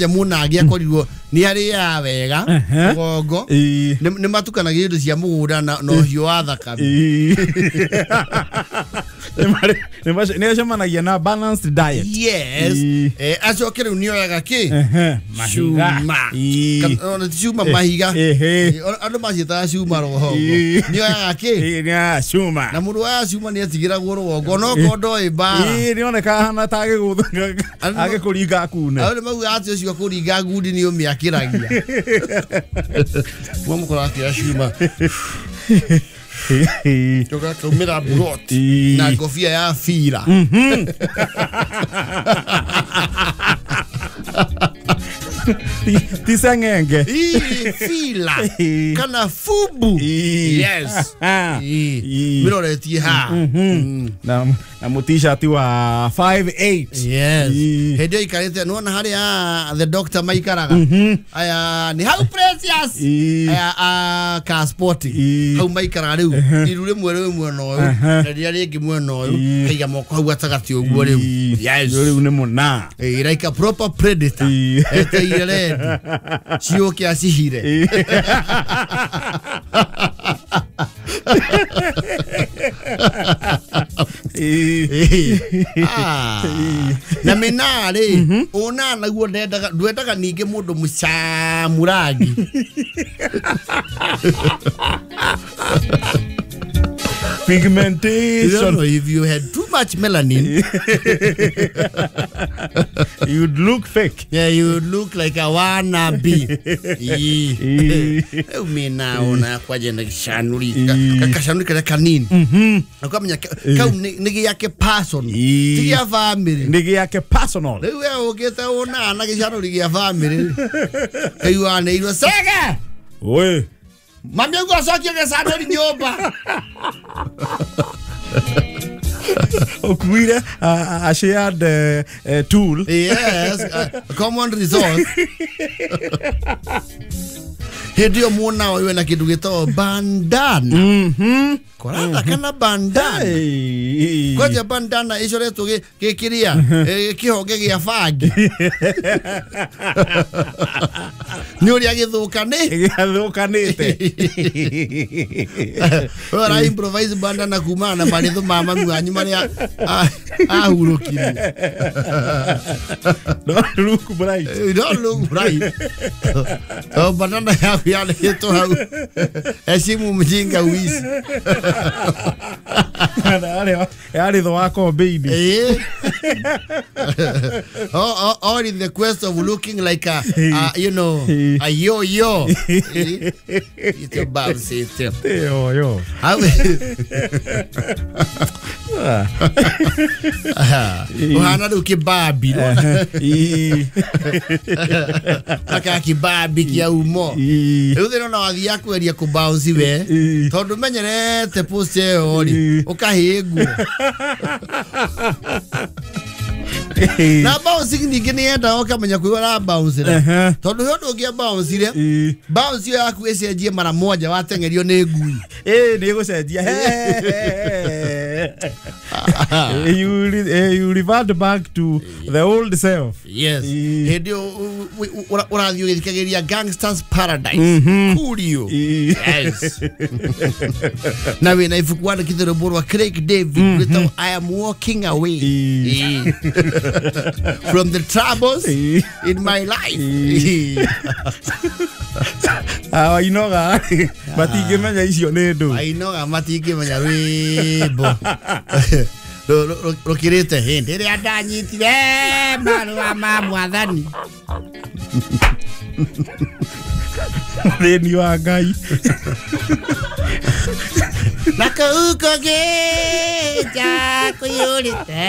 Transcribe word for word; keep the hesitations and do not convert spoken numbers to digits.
Mũnagi akorirwo nĩ arĩaga wega Ehe. rũgongo. Ĩĩ. nĩ nĩ matukanagia indo cia mũgũnda na na ũhiũ wa thakame. Ĩĩ. Nĩ marĩ- nĩ mace- nĩ acemanagia na balanced diet. Yes. Ĩĩ. Eh, acoke rĩu nĩ oyaga kĩ? Ehe, mahiga. Cuma. Ĩĩ. Kana- ona ti cuma, mahiga. Ehe. Eh, ona- andũ maciĩtaga cuma rũgongo. Ĩĩ. Nĩ oyaga kĩ? Ĩĩ, nĩ oyaga cuma. Na mũndũ wa cuma nĩ atigĩragwo rũgongo no ndoĩ mbara. Ĩĩ, nĩ oneka ahana ta agĩgũtha Andũ- agĩkũringa akune. Andũ nĩ maugaga atĩ ũcio kũringa ngundi nĩ ũmĩakĩragia. Mwamũkora akĩoya cuma tũgakaumĩra buroti Ĩĩ. na ngobia ya bira. Ti- ti seng'enge. Ĩĩ, fila Ĩĩ. kana fubu. Ĩĩ. Yes. Ah. Ĩĩ. Ĩĩ. Mĩroretie haha. Mhm. na na mũtishati wa five eight. Yes. Ĩĩ. Hĩndĩ ĩyo ikarĩte nĩwona harĩa the doctor maikaraga aya nĩ hau Precious. Ĩĩ. Aya a car sporting. Ĩĩ. Hau maikaraga rĩu iru rĩmwe rĩu mwena ũyũ Aha. na rĩrĩa rĩngĩ mwena ũyũ. Ĩĩ. Kaiga moko hau gatagatĩ ũguo rĩu. Ĩĩ. Yes. Rĩu nĩ mũna. Eh, like a proper predator. Ĩĩ. Eteire rendi ciũke acihire. Ĩĩ. Ĩĩ. Ah. Na mĩnaa rĩ, ũna naguo ndendaga ndwendaga ningĩ mũndũ mũcamu rangi. You don't Pigmentation. know if you had too much melanin, you'd look fake. Yeah, you would look like a wannabe. Ĩĩ. Ĩĩ. Rĩu mĩnaa ona kwanja na gĩcanũri Ĩĩ. gacanũri karĩa kanini ũkamenya ka- kau nĩ nĩ gĩake person. Ĩĩ. Ti gĩa family. Nĩ gĩake personal. Rĩu we ũkĩte ũnaa na gĩcanũri gĩa family kaiguanĩirwo cege. Oi. Mami auga acokie gĩcanũri nyũmba. Ũkuire a, a, a shared uh, uh, tool. Yes, a common resource. Hĩndĩ ĩyo mwona ũyũ ena kĩndũ gĩtagwo bandana. Mhm. Koratha kana bandana. Hey. Kwanja bandana ĩcoretwo gĩ- gĩkĩrĩa eh, kĩhonge gĩa bangi nĩ ũrĩa gĩthũka nĩ Gĩathũkanĩte. Ora improvise bandana kumana na marĩthũ ma mami wanyu marĩa a- ahurũkirie. Don't look bright. You don't look right. Oh, bandana yaku yandĩkĩtwo hau heshimu mjinga uishi. Yarĩ yarĩ thũ wa kombĩini. Eh? all, all, all in the quest of looking like a, a you know, a yo-yo. Eh? It's a bounce it. Yo yo. How uhana rĩu kĩbabi. Ĩĩ. Aka kĩbabi kĩa umo. Ĩĩ. Rĩu thĩna ona wathiaga kweria kũ bounce we Ĩĩ. tondũ menyerete post ĩyo rĩ Ĩĩ. ũkahĩngwo na bouncing ningĩ nĩ yendaga ũkamenya kwĩ ũra bounce Ehe. tondũ he ũndũ ũngĩ bouncire Ĩĩ. bounce ĩyo yaku ĩcenjie mara moja wateng'erio nĩ ngui. Ĩĩ, nĩ ĩgũcenjia. You re- eh, you revert back to the old self. Yes. Ĩĩ. Hĩndĩ ĩyo ũ- ũ- ũ- ũrathiĩ ũgĩthikagĩrĩria Gangsters Paradise. Mhm. Coolio. Ĩĩ. Yes, na wĩna ibuku wandĩkĩte rwĩmbo rwa Craig David rwĩtagwo I Am Walking Away. Ĩĩ. Ĩĩ. From the troubles Ĩĩ. in my life. Awainoga matingĩmenya icio nĩ ndũ. Ainoga matingĩmenya rwĩmbo Rũ- rũ- rũ- rũkĩrĩte hĩndĩ ĩrĩa ndanyitire marũa ma mwathani. Thĩni wa Ngai. Na kũu kũngĩ nja kũiyũrĩte.